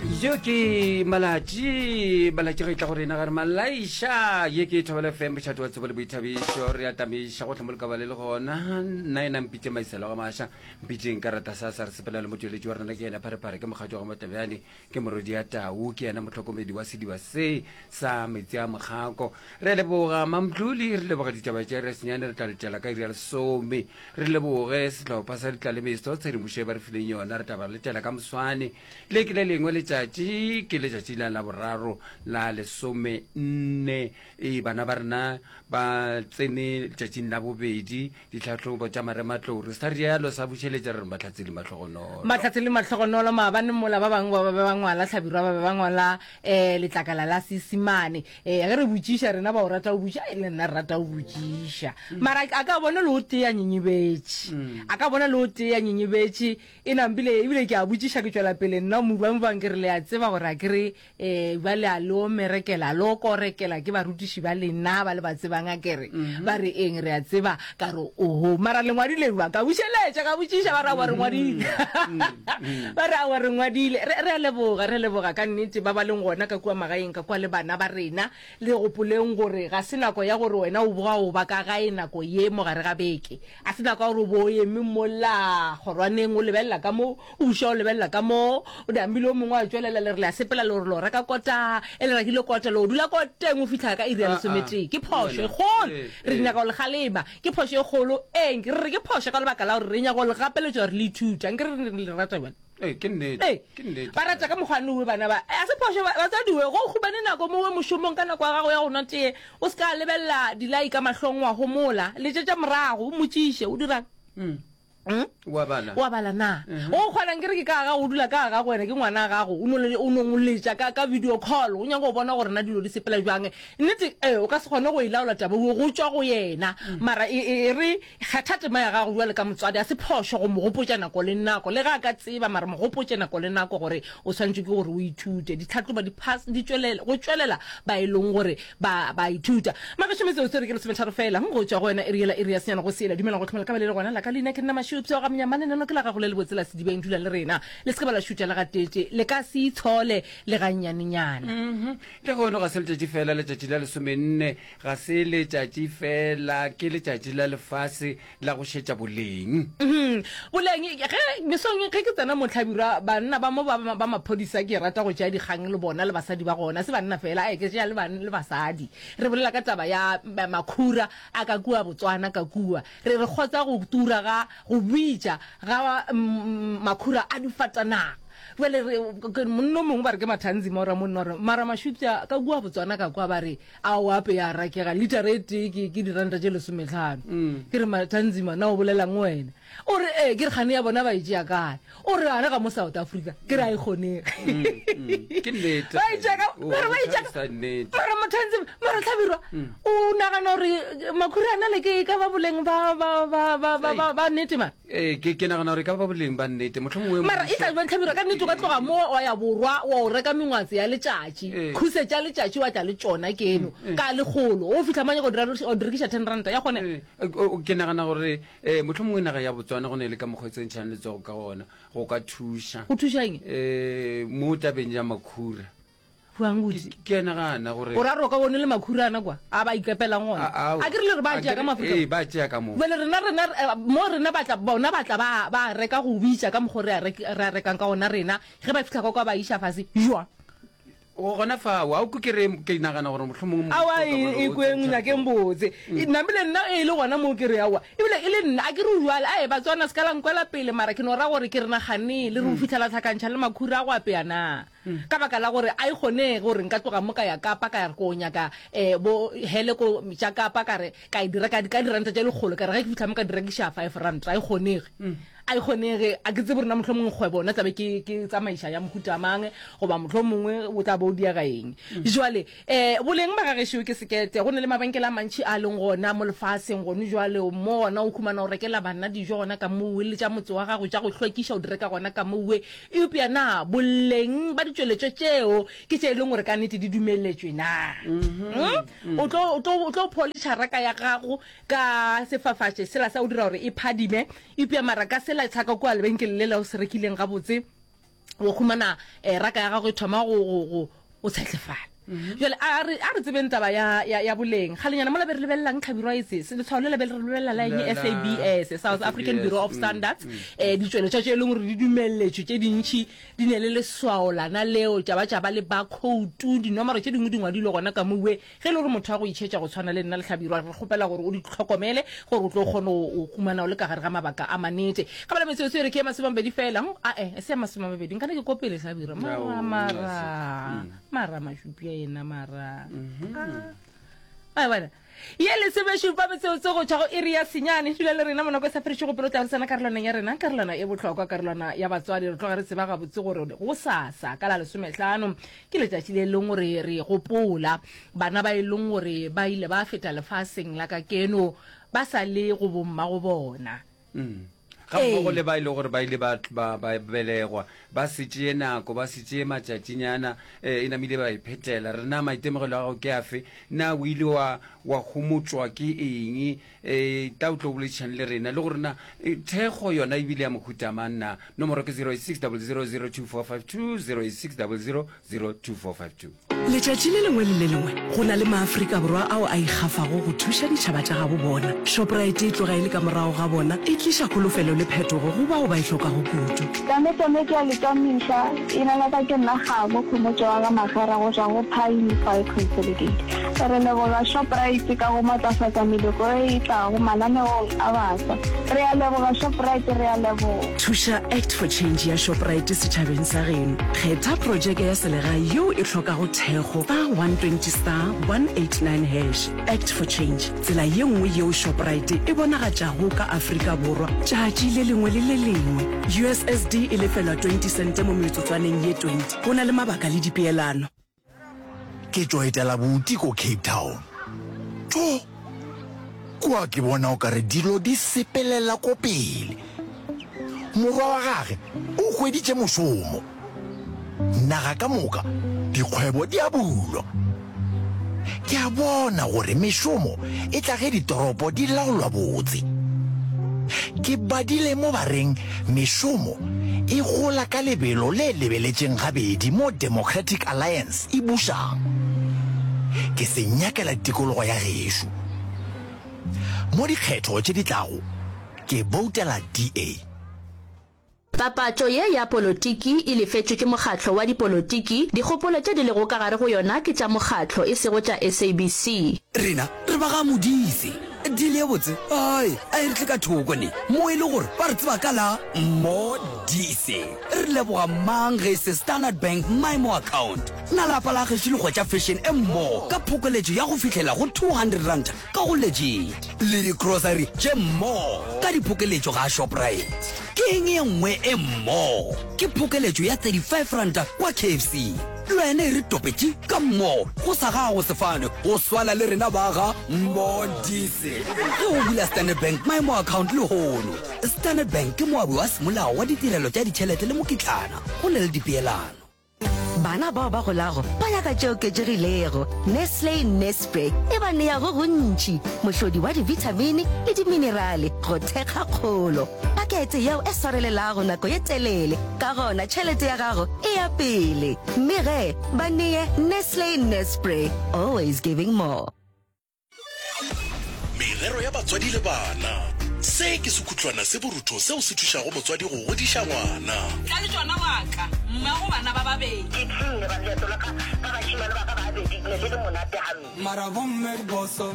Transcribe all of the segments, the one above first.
Yo ke malatši malatši ge e tla go rena gare malaiša ye ke thobela fm mošate wa tsebo le boithabišo re atamiša gotlhe mo lekaba le le gona nna ena mpitše maiselo ga maša mpitšeng ka rata sa sa re sepela le motšweletši wa rena ke yena pharephare ke mokgatšo wa ga motlabjane ke morwedi ya tau ke yena mohlokomedi wa sediba se sa metsi a mokgako re leboga mamtloli re leboga ditaba tša re senyane re tla letšela ka iri ya lesome re leboge sehlopha sa ditlalemeso tshedimošo e ba re fileng yona re tla ba letela ka moswane Le ke le lengwe letšatši, ke letšatši la Laboraro la lesomenne. Ee, bana ba rena ba tsene letšatšing la bobedi ditlhahlobo tša marematlou. Re sa rialo sa bušeletša re re Mahlatse le Mahlogonolo. Mahlatse le Mahlogonolo, maabane mola ba bangwe ba be ba ngwala Hlabirwa ba be ba ngwala um letlakala la Seisemane. Ee, ge re botšiša rena ba o rata go botšiša, ai le nna re rata go botšiša. Mara a ka bona le o tee a nyenyebetše, a ka bona le o tee a nyenyebetše. E nampile, ebile ke a botšiša, ke tšwela pele nna mo bang ke re le a tseba gore a ke re um ba le a le omerekela, le okorekela ke barutiši ba lena ba le ba tsebang a ke re ba re eng re a tseba ka re oho mara le ngwadile jwang ka bušeletša ka botšiša ba re aowa re ngwadile ba re aowa re ngwadile re re a leboga re a leboga ka nnete ba ba leng gona ka kua magaeng ka kua le bana ba rena le gopoleng gore ga se nako ya gore wena o boga o ba ka gae nako ye mo gare ga beke A se nako ya gore o bo o eme mola kgorwaneng o lebelela ka mo, o buša o lebelela ka mo, o namile o mongwe a tšwelela le re le a sepela le gore le o reka kota, e le rekile kota le o dula koteng o fihla ka iri ya lesometee. Ke phošo e kgolo. Re nyaka go le kgalema. Ke phošo e kgolo. Eng? Re re ke phošo ka lebaka la gore re nyaka go le gapeletša gore le ithute. Anke re re le rata bjale. Ee, ke nnete. Ee, Ke nnete. ba rata ka mokgwa nowe bana ba. A se phošo ba, batswadi we, go humane nako mowe mošomong ka nako ya gago ya go nwa tee, o se ka lebelela dilai ka mahlong wa homola. Letšetša morago, o mmotšiše, o dirang? Mm. Mm? Wa bala. Wa bala na? O kgona nkere ke ka ga gago, o dula ka ga gago, wena ke ngwana gago, o no le, o no letša ka, ka video call, o nyaka go bona gore na dilo di sepela bjang. Nnete, ee, o ka se kgone go e laola taba eo, go tšwa go yena. Mara e, e, e re Kgetha tema ya gago bjalo ka motswadi. A se phošo go mo gopotša nako le nako, le ge a ka tseba, mara mo gopotše nako le nako gore o swanetše ke gore o ithute. Ditlhahlobo di phas, di tšwelela, go tšwelela ba e leng gore ba, ba ithuta. Magešo metsotso e re ke lesometharo feela go tšwa go wena iri yela, iri ya senyane go sela. Dumela go hlomela ka ba le le gona. La ka leina ke nna Mašupša wa ga Monyamane. Neno ke la gago le lebotse la sedibeng. Dula le rena. Le se ke ba la šutša le gateetše. Le ka se itshole le gannyanenyana. Mm-hmm. Lehono ga se letšatši feela, letšatši la lesomenne. Ga se letšatši feela, ke letšatši la lefase la go šetša boleng. Boleng, ge mesong ge ke tsena mo Hlabirwa, banna ba mo ba, ba maphodisa ke rata go tšea dikgang le bona le basadi ba gona, se banna feela, ae ke tšea le, le basadi. Re bolela ka taba ya makhura a ka kua Botswana ka kua. Re re kgotsa go tura ga, go bitša ga makhura a difatanaga. Bjale re, monna o mongwe ba re ke Mathanzima o ra monna o re, mara Mašupša ka kua Botswana ka kwa ba re, Ao ape ya rakega, litara e tee ke, ke diranta tše lesometlhano. Ke re, Mathanzima, na o bolelang wena? O re, Ee. Ke re, Kgane ya bona ba e tšea kae? O re, Gane ga mo South Africa. Ke re, A e kgonege. Ke nnete. Ba e tšea ka, mara ba e tšea ka, mara Mathanzima, mara Hlabirwa, o nagana gore makhura a nale ke e ka ba boleng ba, ba, ba, ba, ba, ba, ba nnete mara? Ee, ke, ke nagana gore e ka ba boleng ba nnete. Mohlomongwe Mara e tla mmušo. bjang Hlabirwa? Ka nnete o ka tloga mo wa ya borwa wa o reka mengwatse ya letšatši, Ee. khuse tša letšatši wa tla le tšona keno ka lekgolo. O fihla manye go dira o di rekiša ten ranta ya kgonega. Ee, o- o- ke nagana gore um mohlomongwe naga ya Botswana go ne le ka mokgwa e tsentšhang letsogo ka gona go ka thuša Go thuša eng? um mo tabeng ya makhura. Buang botse. Ke a nagana gore. O ra gore o ka bone le makhura ana kwa a ba ikepelang gona. A ke re le re ba tšea ka mo Afrika. Ee, ba tšea ka mo. Bjale rena rena eh, mo rena ba tla bona ba tla ba ba reka go bitša ka mokgo re a re a rekang ka gona rena ge ba fihla kwa kwa ba iša fase jwa. Gona fao, a o kwe ke re ke nagana gore mohlomongwe mmušo Aowa o ka bona e o kweng tsentšha nyakeng letsogo. botse. Namile nna e le gona mo ke re aowa ebile e le nna a ke re o jwale ae Batswana se ka la nkwela pele mara ke no ra gore ke re naganeng le re o fihla la hlakantšha le makhura a go apea na. Ka baka la gore a e kgonege gore nka tloga mo ka ya Kapa ka ya re ko nyaka um bo hele ko tša Kapa ka re ka e di reka ka diranta tše lekgolo ka re ge ke fihla mo ka di rekiša five ranta a e kgonege. A e kgonege a ke tsebe gore na mohlomongwe kgwebo nna tlabe ke ke tsamaiša ya mohuta mang goba mohlomongwe o tla bo o diega eng. Jwale um boleng ba gagešo ke sekete go na le mabenkele a mantši a leng gona mo lefaseng gone jwale mo gona o humana o rekela bana dijo gona ka mowe le tša motse wa gago tša go hlwekiša o di reka gona ka mowe Eupša na boleng ba ditšweletšwa tšeo ke tše e leng gore ka nnete di dumeletšwe na? Mm? O tlo, o tlo, o tlo pholiša raka ya gago ka sefafatše sela sa go dira gore e phadime, eupša mara ka sela sa ka kua lebenkeleng lela o se rekileng gabotse. O humana eh, raka ya gago e thoma go, go, go, go tshetlefala. Jale a re, a re tsebeng taba ya, ya, ya boleng. Kgalenyana mola be re lebelelang tlhabirwa e se, se letshwao le la be re lebelela la eng? La, la, SABS, South African SABS, Bureau of Standards. Eh, ditšweletšwa tše e leng gore di dumelletšwe tše dintši di ne le leswao lana leo, tša ba tša ba le barcode, dinomoro tše dingwe di ngwadilwe gona ka mowe. Ge e le gore motho wa go itšhetša go tshwana le nna le Hlabirwa, re kgopela gore o di hlokomele gore o tlo kgone go humana o le ka gare ga mabaka a manete. Ka bala metsotso e re ke ye masomamabedi fela. Ae, e se ya masomamabedi. Nkane ke ko pele Hlabirwa. Mara, mara, mara mašupi a yena, mara. Ah, a bona. Ye lesomešupa metsotso go tšwa go iri ya senyane. Dula le rena monako e sa fedišego pelo tla re tsena karolwaneng ya rena, karolwana e bohlokwa, karolwana ya batswadi. Re tloga re tseba gabotse gore gosasa ka la lesomehlano Ke letšatši le leng gore re gopola bana ba e leng gore ba ile ba feta lefaseng la ka keno ba sa le go bommago bona. Ga mmogo le ba e lego gore ba ile ba, ba, ba belegwa ba se tšee nako, ba se tšee matšatšinyana, e namile ba iphetela. Re na maitemogelo a gago ke afe? Na o ile wa, wa homotšwa ke eng? E tla o tlo boledišane le rena le gore na e, thekgo yona e bile ya mohuta mang na. Nomoro ke 086 000 2452 086 000 2452. Letšatši le lengwe le le lengwe go na le maAfrika Borwa ao a ikgafago go thuša ditšhaba tša gabo bona. Shoprite e tloga e le ka morago ga bona, e tliša kholofelo le phetogo go bao ba e hlokago kudu. Tame tame ke a le tamiša, ina la ka ke nna Kgabo Khomotšo wa ga Magera go tšwa go Pine Fire Consolidated. Re leboga Shoprite ka go matlafatša meloko e e tlago mananeong a baswa. Re a leboga Shoprite, re a leboga. Thuša Act for Change ya Shoprite setšhabeng sa geno. Kgetha projeke ya selegae yeo e hlokago thekgo star 120 star 189 hash. Act for Change, tsela ye nngwe yeo Shoprite e bonagatšago ka Afrika Borwa tšatši le lengwe le le lengwe. USSD e lefelwa 20 sente mo metsotswaneng ye 20. Go na le mabaka le dipeelano. Ke tšo etela buti ko Cape Town. Tjo! Kua ke bona o kare dilo di sepelela ko pele. Morwa wa gage o hweditše mošomo. Naga ka moka dikgwebo di a bulwa. Ke a bona gore mešomo e tla ge ditoropo di laolwa botse. Ke badile mo ba reng mešomo e gola ka lebelo le lebeletšeng gabedi mo Democratic Alliance e bušang. Ke se nyakela tikologo ya gešo. Mo dikgetho tše di tlago ke boutela DA. Papatšo ye ya polotiki e lefetšwe ke mokgatlo wa dipolotiki, dikgopolo tše di lego ka gare go yona ke tša mokgatlo e sego tša SABC. Rena re ba ga Modise. Deal ye botse ai a e re tle ka thoko ne mo e le gore ba re tseba ka la Modise. Re leboga mang ge e se Standard Bank MyMo Account. Na lapa la gešo le hwetša fashion e mmogo ka phokoletšo ya go fihlela go R200 ka go Legit le di-grocery tše mmogo ka diphokeletšo ga Shoprite. Ke eng ye nngwe e mmogo? Ke phokeletšo ya R35 kwa KFC. Le wena e re topetše ka mmogo go sa gago sefane go swana le rena ba ga Modise. Ge o bula Standard Bank Maemo Account lehono. Standard Bank ke moabi wa semolao wa ditirelo tša ditšhelete le mokitlana go na le dipeelano. Bana bao ba golago ba nyaka tše oketšegilego. Nestle Nespre e ba nea go gontši, mohlodi wa dibithamini le diminerale go thekga kgolo. Pakete yeo e swarelelago nako ye telele, ka gona tšhelete ya gago e ya pele. Mme ge, ba nee Nestle Nespre, always giving more. Merero ya batswadi le bana. Se ke sekhutlwana se borutho seo se thušago motswadi go godiša ngwana. Tla le tšona wa ka, mmago bana ba babedi. Ke tšhunne ba leeto la ka ka bašemane ba ka ba babedi, ne le le monate gampe. Mara bomme di boso.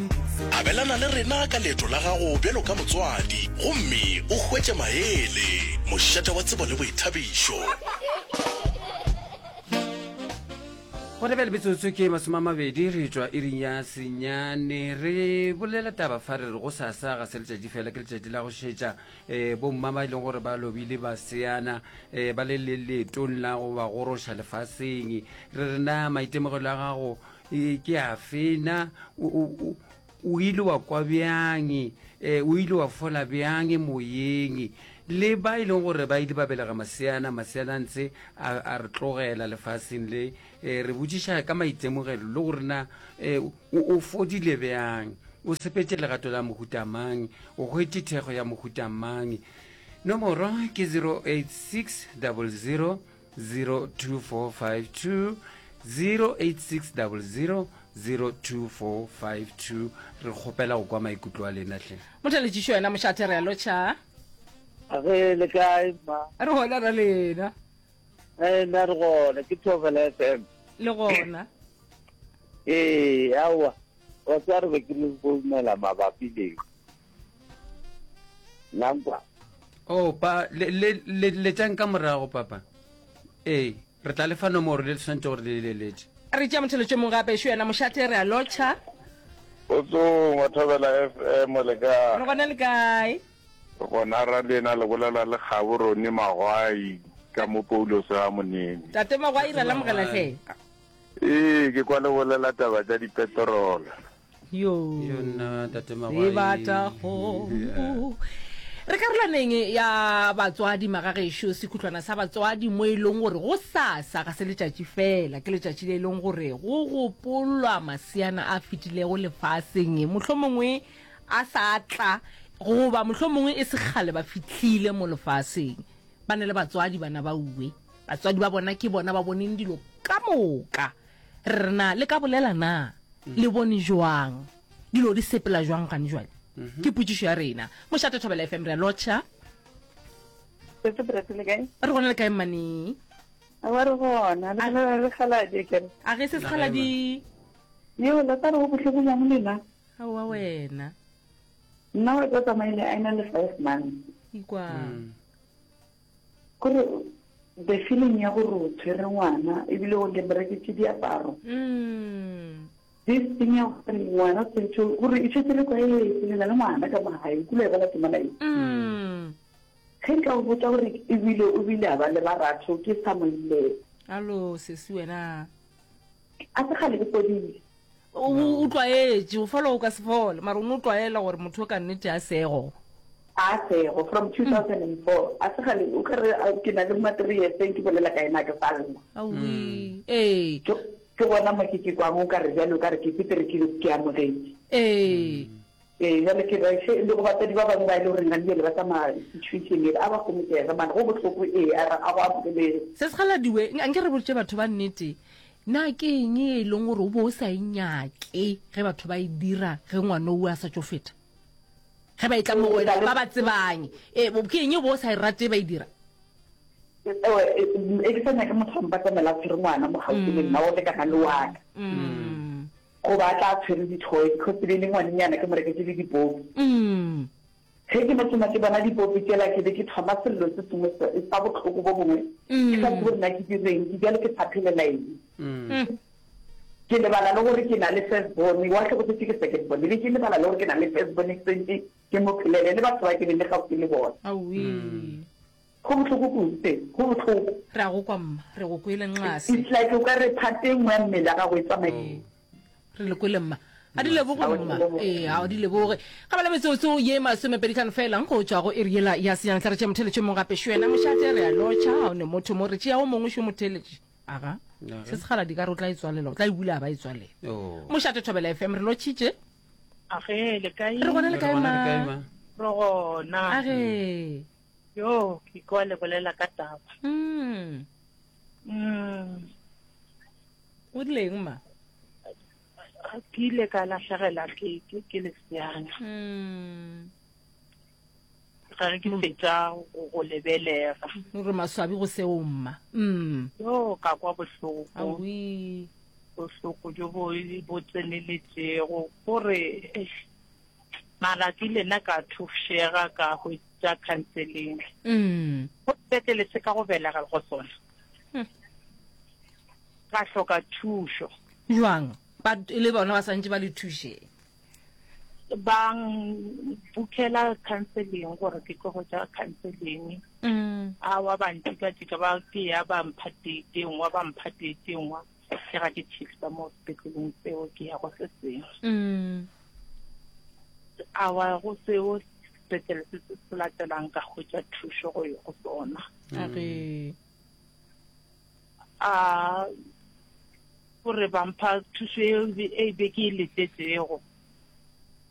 Abelana le rena ka leeto la gago bjalo ka motswadi gomme o hwetše maele. Mošate wa tsebo le boithabišo. Gona bjale metsotso ke masomamabedi re tšwa iring ya senyane re bolela taba fa re re go sasa ga se letšatši fela ke letšatši la go šetša um bomma ba e leng gore ba lobile baseana um ba le le leetong la go ba goroša lefaseng re re na maitemogelo a gago eh, ke afe na O ile wa kwa bjang? E, o ile wa fola bjang moyeng? Le ba e leng gore ba ile ba belega maseana, maseana a ntse a, a re tlogela lefaseng le. E, re botšiša ka maitemogelo le gore na e, o, o fodile bjang, o sepetše legato la mohuta mang, o hwetše thekgo ya mohuta mang. Nomoro ke 086 00. 02452 086 00 02452 re kgopela go kwa maikutlo a lena hle. Motheletšišo wena mošate re a lotšha. A ge le kae mma? Re gona ra lena. Eh nna re gona ke Thobela FM. Le gona. Ee aowa wa tseba re be ke le founela mabapi le Lankwa. Oh pa le le le letšang ka morago papa. Ee re tla le fa nomoro le tshwanetse gore le leletše. Re tšea motheletšo mongwe gape šo yena mošate re a lotšha. Kgotsong wa Thobela FM le kae? Re gona le kae? Re gona ra lena le bolela le Kgabo Ronnie Magwai ka mo Paulos ga Monene. Tate Magwai ra lamogela hle. Ee ke kwa le bolela taba tša dipetrol. Yo. Yo nna tate Magwai. Sebata kgomo. Re karolwaneng ya batswadi magagešo, sekhutlwana sa batswadi mo e leng gore go sasa ga se letšatši fela, ke letšatši le e leng gore go gopolwa maseana a fetilego lefaseng, mohlomongwe a sa tla goba mohlomongwe e se kgale ba fihlile mo lefaseng. Ba na le batswadi bana ba uwe, batswadi ba bona ke bona ba boneng dilo ka moka. Re re na le ka bolela na? Le bone jwang? Dilo di sepela jwang gane jwale? Ke potšišo ya rena. Mošate Thobela FM re a lotšha. Setse Brett le kae? Re gona le kae mmane? Awa re gona. Le bolela le Kgaladi ke re. A ge se Sekgaladi. Yo la tla re go bohloko jang lena? Aowa wena. Nna wa tla tsamaile a ena le 5 months. Ikwa. Kore the feeling ya gore o tshwere ngwana ebile o le moreketse diaparo. Mm. This thing ya gore ngwana o tshwanetse gore e tshwetse le tlwaetse le na le ngwana ka mo gae o kula e bala temana e. Mm. Ge nka go botsa gore ebile o bile a ba le baratho ke sa mo illela. Alo sesi wena. A se kgale ke fodile. O o tlwaetše, o fola o ka se fole, mara o no tlwaela gore motho o ka nnete a sego. A sego from 2004 a se kgale o ka re ke na le ma 3 years ke bolela ka ena ke sa lla. Aowi. Ee. Ke ke gona mo ke ke kwang o ka re bjale o ka re ke setere ke ke amogetše. Ee. Ee, bjale ke re še le go batswadi ba bangwe ba e le goreng gane bjale ba tsamaya situation ele a ba gomotšege mane go bohloko ee a re a go amogelege. Se sekgaladiwe, anke re botše batho ba nnete, na ke eng e leng gore o bo o sa e nyake ge batho ba e dira ge ngwana o a sa tšo feta? Ge ba e tla mo go wena ba ba tsebang, e, ke eng e bo o sa e rate ba e dira? E ke sa nyake motho a mpatamela a tshwere ngwana mo gaufi le nna o lekana le wa ka. Goba a tla a tshwere di-toy because e be e le ngwanenyana ke mo reketše le dipopi. Ge ke no thoma ke bona dipopi tšela ke be ke thoma sello se sengwe sa bohloko bo bongwe ke sa tsebe gore na ke direng ke bjale ke sa phelela eng. Ke lebala le gore ke na le first born wa hlokofetše ke second born e be ke lebala le gore ke na le first born ke sentše ke mo phelele le batho ba ke beng le gaufi le bona. Go bohloko kudu se, go bohloko. Re a go kwa mma, re go kwele nxase. It's like o ka re part e nngwe ya mmele ya gago e tsamaile. Re le kwele mma. A di leboge mma. Ee, a di leboge. Ga bala metsotso ye masomepeditlhano fela go tšwa go iri yela ya senyane tla re tšea motheletši o mongwe gape. Šwena mošate re a lotšha, ga o ne motho mo re tšea o mongwe šo motheletši. Aga, se sekgala di ka re o tla e tswalela, o tla e bula a ba e tswalela. Mošate Thobela FM re lotšhitše. Age, le kae? Re gona le kae ma? Re gona. Age. Yo, ke kwa le bolela ka taba. Mm. Mm. O rile eng ma? Ke ile ka lahlegela ke ke ke leseana. Mm. Ga re ke fetša go go lebelega. O re maswabi go seo mma. Mm. Yo, ka kwa bohloko. Awi. Bohloko jo bo bo tseneletšego gore eish. Mara ke ile nna ka thušega ka hwetša counseling. Mm. Go sepetlele se ka go belega go sona. Hmm. Ka hloka thušo. Jwang? Ba e le bona ba santše ba le thuše. Ba bukela counseling gore ke tlo hwetša counseling. Mm. Awa ba ntika-tika ba ke ya ba mpha date e nngwe ba mpha date e nngwe. Ke ga ke shifta mo sepetleleng seo ke ya go se sengwe. Mm. Awa go seo sepetlele se se se latelang ka hwetša thušo go go sona. A re. A gore ba mpha thušo e e be ke e letetšego.